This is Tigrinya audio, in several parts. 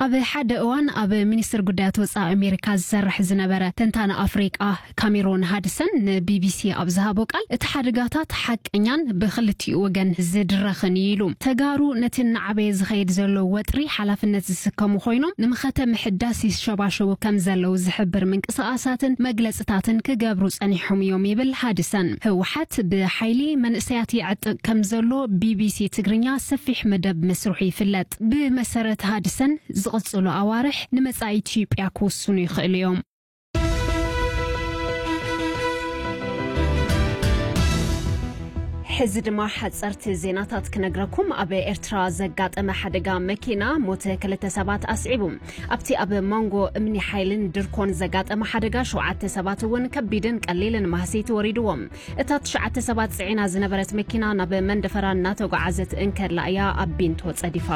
ኣብ ሓደ እዋን ኣብ ሚኒስትር ጉዳያት ወጻኢ ኣሜሪካ ዝሰርሕ ዝነበረ ተንታኒ ኣፍሪቃ ካሜሮን ሃድሰን ንቢቢሲ ኣብ ዝሃቦ ቃል፣ እቲ ሓደጋታት ሓቀኛን ብኽልቲኡ ወገን ዝድረኽን እዩ ኢሉ። ተጋሩ ነቲ እናዓበየ ዝኸይድ ዘሎ ወጥሪ ሓላፍነት ዝስከሙ ኮይኖም፣ ንመኸተ ምሕዳስ ይሸባሸቡ ከም ዘለዉ ዝሕብር ምንቅስቓሳትን መግለጽታትን ክገብሩ ጸኒሖም እዮም ይብል ሃድሰን። ህወሓት ብሓይሊ መንእሰያት ይዕጥቕ ከም ዘሎ ቢቢሲ ትግርኛ ሰፊሕ መደብ መስርሑ ይፍለጥ። ብመሰረት ሃድሰን፣ ዝቕጽሉ ኣዋርሕ ንመጻኢ ኢትዮጵያ ክውስኑ ይኽእሉ እዮም። ሕዚ ድማ ሓጸርቲ ዜናታት ክነግረኩም። ኣብ ኤርትራ ዘጋጠመ ሓደጋ መኪና ሞተ ክልተ ሰባት ኣስዒቡ። ኣብቲ ኣብ መንጎ እምኒ ሓይልን ድርኮን ዘጋጠመ ሓደጋ ሸውዓተ ሰባት እውን ከቢድን ቀሊልን ማህሰይቲ ወሪድዎም። እታ ትሽዓተ ሰባት ጽዒና ዝነበረት መኪና ናብ መንደፈራ እናተጓዓዘት እንከላ እያ ኣብ ቢንቶ ጸዲፋ።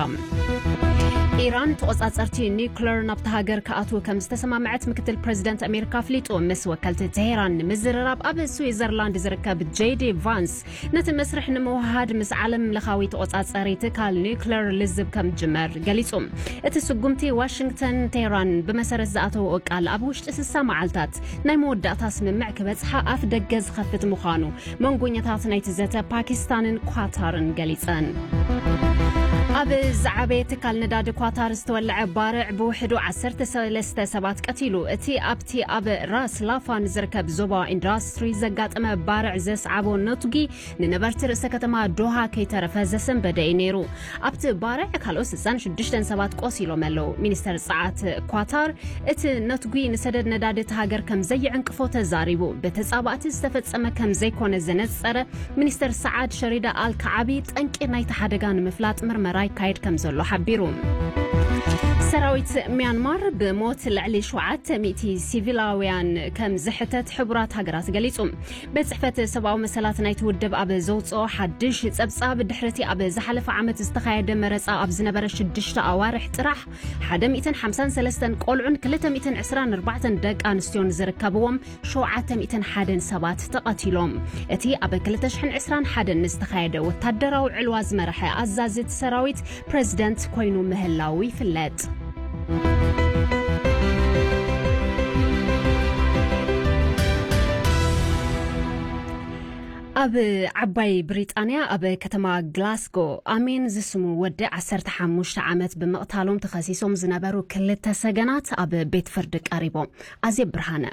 ኢራን ተቖጻጸርቲ ኒውክለር ናብታ ሃገር ክኣትዉ ከም ዝተሰማምዐት ምክትል ፕሬዚደንት ኣሜሪካ ኣፍሊጡ። ምስ ወከልቲ ቴሄራን ንምዝርራብ ኣብ ስዊዘርላንድ ዝርከብ ጄዲ ቫንስ፣ ነቲ መስርሕ ንምውህሃድ ምስ ዓለም ለኻዊ ተቖጻጸሪ ትካል ኒውክለር ልዝብ ከም ዝጅመር ገሊጹ። እቲ ስጉምቲ ዋሽንግተን ቴህራን ብመሰረት ዝኣተወኦ ቃል ኣብ ውሽጢ ስሳ መዓልታት ናይ መወዳእታ ስምምዕ ክበጽሓ ኣፍ ደገ ዝኸፍት ምዃኑ መንጎኛታት ናይቲ ዘተ ፓኪስታንን ኳታርን ገሊጸን። ኣብ ዝዓበየ ትካል ነዳዲ ኳታር ዝተወለዐ ባርዕ ብውሕዱ ዓሰርተ ሰለስተ ሰባት ቀቲሉ። እቲ ኣብቲ ኣብ ራስ ላፋን ዝርከብ ዞባ ኢንዱስትሪ ዘጋጠመ ባርዕ ዘስዓቦ ነቱጊ ንነበርቲ ርእሰ ከተማ ዶሃ ከይተረፈ ዘሰንበደ እዩ ነይሩ። ኣብቲ ባርዕ ካልኦት ስሳን ሽዱሽተን ሰባት ቆሲሎም ኣለዉ። ሚኒስተር ጸዓት ኳታር፣ እቲ ነትጒ ንሰደድ ነዳዲ እቲ ሃገር ከም ዘይዕንቅፎ ተዛሪቡ። ብተጻባእቲ ዝተፈጸመ ከም ዘይኮነ ዘነጸረ ሚኒስተር ሰዓድ ሸሪዳ ኣል ከዓቢ፣ ጠንቂ ናይቲ ሓደጋ ንምፍላጥ ምርመራ ይካየድ ከም ዘሎ ሓቢሩ። ሰራዊት ሚያንማር ብሞት ልዕሊ ሸውዓተ ሚእቲ ሲቪላውያን ከም ዝሕተት ሕቡራት ሃገራት ገሊጹ። ቤት ጽሕፈት ሰብኣዊ መሰላት ናይቲ ውድብ ኣብ ዘውጽኦ ሓድሽ ጸብጻብ፣ ድሕሪቲ ኣብ ዝሓለፈ ዓመት ዝተኻየደ መረጻ ኣብ ዝነበረ ሽዱሽተ ኣዋርሕ ጥራሕ ሓደ ሚእትን ሓምሳን ሰለስተን ቆልዑን ክልተ ሚእትን ዕስራን ኣርባዕተን ደቂ ኣንስትዮን ዝርከብዎም ሸውዓተ ሚእትን ሓደን ሰባት ተቐቲሎም። እቲ ኣብ ክልተ ሽሕን ዕስራን ሓደን ዝተኻየደ ወታደራዊ ዕልዋ ዝመርሐ ኣዛዚ እቲ ሰራዊት ፕሬዚደንት ኮይኑ ምህላዉ ይፍለጥ። ኣብ ዓባይ ብሪጣንያ ኣብ ከተማ ግላስጎ ኣሜን ዝስሙ ወዲ ዓሰርተ ሓሙሽተ ዓመት ብምቕታሎም ተኸሲሶም ዝነበሩ ክልተ ሰገናት ኣብ ቤት ፍርዲ ቀሪቦም። ኣዜብ ብርሃነ።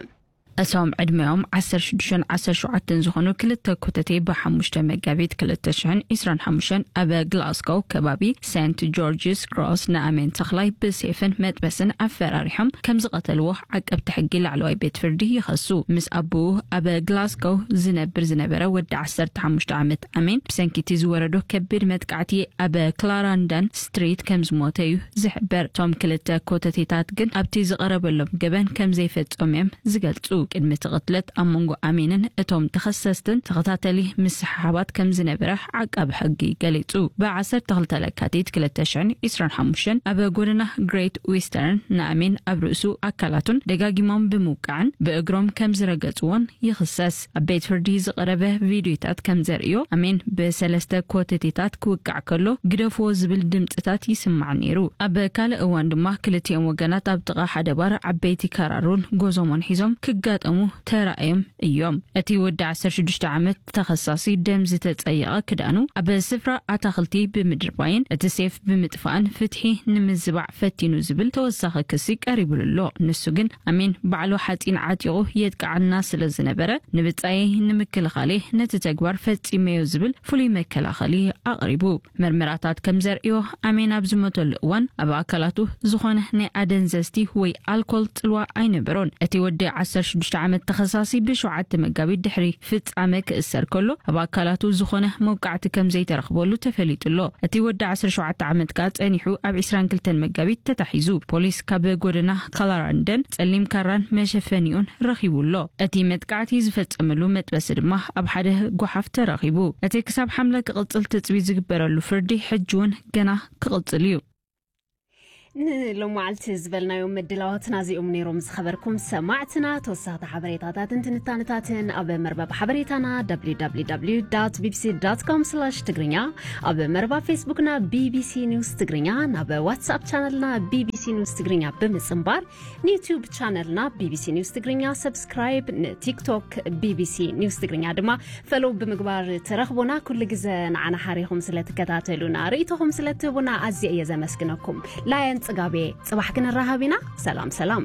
እቶም ዕድመኦም ዓሰርተ ሽዱሽተን ዓሰርተ ሸውዓተን ዝኾኑ ክልተ ኮተቴ ብሓሙሽተ መጋቢት ክልተ ሽሕን ዕስራን ሓሙሽተን ኣብ ግላስጎ ከባቢ ሴንት ጆርጅስ ክሮስ ንኣሜን ተኽላይ ብሴፍን መጥበስን ኣፈራሪሖም ከም ዝቐተልዎ ዓቀብቲ ሕጊ ላዕለዋይ ቤት ፍርዲ ይኸሱ። ምስ ኣቦኡ ኣብ ግላስጎ ዝነብር ዝነበረ ወዲ ዓሰርተ ሓሙሽተ ዓመት ኣሜን ብሰንኪ እቲ ዝወረዶ ከቢድ መጥቃዕቲ ኣብ ክላራንዳን ስትሪት ከም ዝሞተ እዩ ዝሕበር። እቶም ክልተ ኮተቴታት ግን ኣብቲ ዝቐረበሎም ገበን ከም ዘይፈጸሙ እዮም ዝገልጹ። ቅድሚ እቲ ቅትለት ኣብ መንጎ ኣሜንን እቶም ተኸሰስትን ተኸታተሊ ምስሕሓባት ከም ዝነበረ ዓቃቢ ሕጊ ገሊጹ። ብ ዓሰርተ ክልተ ለካቲት ክልተ ሽሕን ዕስራን ሓሙሽተን ኣብ ጎደና ግሬት ዊስተርን ንኣሜን ኣብ ርእሱ ኣካላቱን ደጋጊሞም ብምውቃዕን ብእግሮም ከም ዝረገጽዎን ይኽሰስ። ኣብ ቤት ፍርዲ ዝቐረበ ቪድዮታት ከም ዘርእዮ፣ ኣሜን ብሰለስተ ኮተቴታት ክውቃዕ ከሎ፣ "ግደፍዎ" ዝብል ድምጽታት ይስማዕ ነይሩ። ኣብ ካልእ እዋን ድማ፣ ክልቲኦም ወገናት ኣብ ጥቓ ሓደ ባር ዓበይቲ ካራሩን ጎዞሞን ሒዞም ክጋጠሙ ተራእዮም እዮም። እቲ ወዲ ዓሰርተ ሽዱሽተ ዓመት ተኸሳሲ፣ ደም ዝተጸየቐ ክዳኑ ኣብ ስፍራ ኣታኽልቲ ብምድርባይን እቲ ሴፍ ብምጥፋእን ፍትሒ ንምዝባዕ ፈቲኑ ዝብል ተወሳኺ ክሲ ቀሪቡሉ ኣሎ። ንሱ ግን ኣሜን ባዕሉ ሓጺን ዓጢቑ የጥቅዓና ስለ ዝነበረ፣ ንብጻየይ ንምክልኻል እየ ነቲ ተግባር ፈጺመዮ ዝብል ፍሉይ መከላኸሊ ኣቕሪቡ። መርመራታት ከም ዘርእዮ፣ ኣሜን ኣብ ዝሞተሉ እዋን ኣብ ኣካላቱ ዝኾነ ናይ ኣደንዘዝቲ ወይ ኣልኮል ጽልዋ ኣይነበሮን። እቲ ወዲ ዓሰርተ ሽዱሽተ ዓመት ተኸሳሲ ብሸውዓተ መጋቢት ድሕሪ ፍጻመ ክእሰር ከሎ፣ ኣብ ኣካላቱ ዝኾነ መውቃዕቲ ከም ዘይተረኽበሉ ተፈሊጡ ኣሎ። እቲ ወዲ ዓሰርተ ሸውዓተ ዓመት ከኣ ጸኒሑ ኣብ ዕስራን ክልተን መጋቢት ተታሒዙ። ፖሊስ ካብ ጎደና ካላራንደን ጸሊም ካራን መሸፈኒኡን ረኺቡ ኣሎ። እቲ መጥቃዕቲ ዝፈጸመሉ መጥበሲ ድማ ኣብ ሓደ ጓሓፍ ተረኺቡ። እቲ ክሳብ ሓምለ ክቕጽል ትጽቢት ዝግበረሉ ፍርዲ ሕጂ እውን ገና ክቕጽል እዩ። ንሎማዓልቲ ዝበልናዮም ምድላዋትና እዚኦም ነይሮም። ዝኸበርኩም ሰማዕትና፣ ተወሳኽቲ ሓበሬታታትን ትንታነታትን ኣብ መርበብ ሓበሬታና www.bbc.com/ትግርኛ፣ ኣብ መርበብ ፌስቡክና ቢቢሲ ኒውስ ትግርኛ፣ ናብ ዋትስኣፕ ቻነልና ቢቢሲ ኒውስ ትግርኛ ብምጽንባር፣ ንዩትዩብ ቻነልና ቢቢሲ ኒውስ ትግርኛ ሰብስክራይብ፣ ንቲክቶክ ቢቢሲ ኒውስ ትግርኛ ድማ ፈሎው ብምግባር ትረኽቡና። ኩሉ ግዘ ንዓና ሓሪኹም ስለ ትከታተሉና፣ ርእይቶኹም ስለ ትህቡና ኣዝየ እየ ዘመስግነኩም። ላየን ጽጋቤ፣ ጽባሕ ክንራኸብ ኢና። ሰላም ሰላም።